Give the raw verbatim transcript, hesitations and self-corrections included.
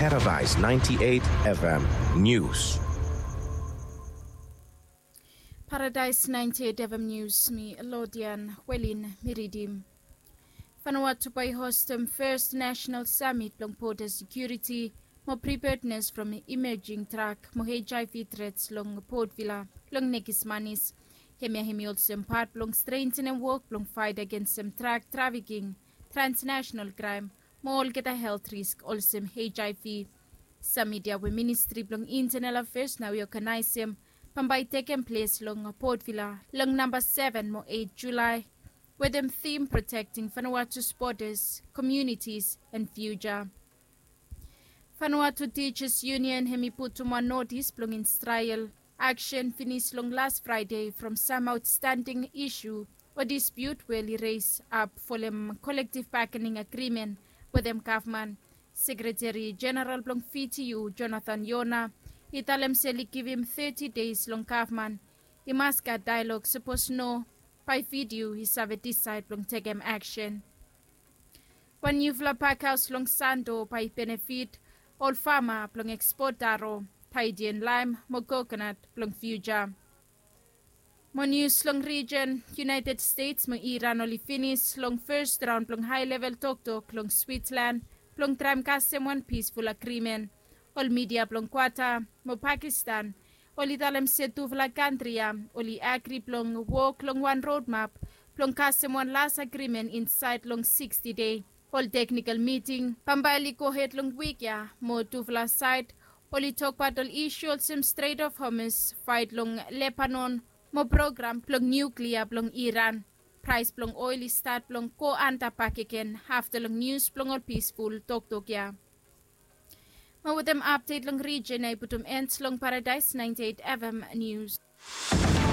Paradise ninety-eight F M News. Paradise ninety-eight F M News, mi Lodian Welin mi ridim. Vanuatu bae i hostem fes nasenal samit blong boda sekiuriti mo preparednes from imejing trak mo H I V trets long Port Vila long nekis manis. Hemia hem i olsem pat blong strengtenem wok blong faet agensem trak trafiking, transnasenal kraem mo olgeta helt risk olsem H I V. Samit ya we Ministri blong Intenal Afeas nao i oganaesem bambae i tekem ples long Port Vila long namba seven mo eit Julae wetem thim Protecting Vanuatu's Borders, Communities and Future. Vanuatu Teachers Union hem i putum wan notis blong instrael aksen finis long las Fraede from sam aotstanding isu o dispiut we oli res ap folem kolektiv bakening agrimen wetem gavman. Sekreteri Jeneral blong V T U, Jonathan Yona, i talem se oli givim teti deis long gavman i mas gat daelog, sapos no bae V T U i save disaed blong tekem aksen. Wan niufala pakhaos long Santo bae i benefit ol fama blong ekspot taro, taedien laem mo kokonat blong fiuja. Mo nius long rijen, United States mo Iran oli finis long fes raon blong hae level toktok long Switzerland blong traem kasem wan pisful agrimen. Ol midia blong Qatar mo Pakistan oli talem se tufala kantri ya oli agri blong wok long wan rodmap blong kasem wan las agrimen insaed long siksti dei. Ol teknikol miting bambae oli gohed long wik ya mo tufala saed oli tokbaot ol isu olsem Strait of Hormuz, faet long Lebanon mo program blong niuklia blong Iran. Praes blong oel i stat blong go anda bakegen afta long nius blong ol pisful toktok ya. Mo wetem apdet long rijen ya i putum en long Paradaes ninety-eight F M Nius.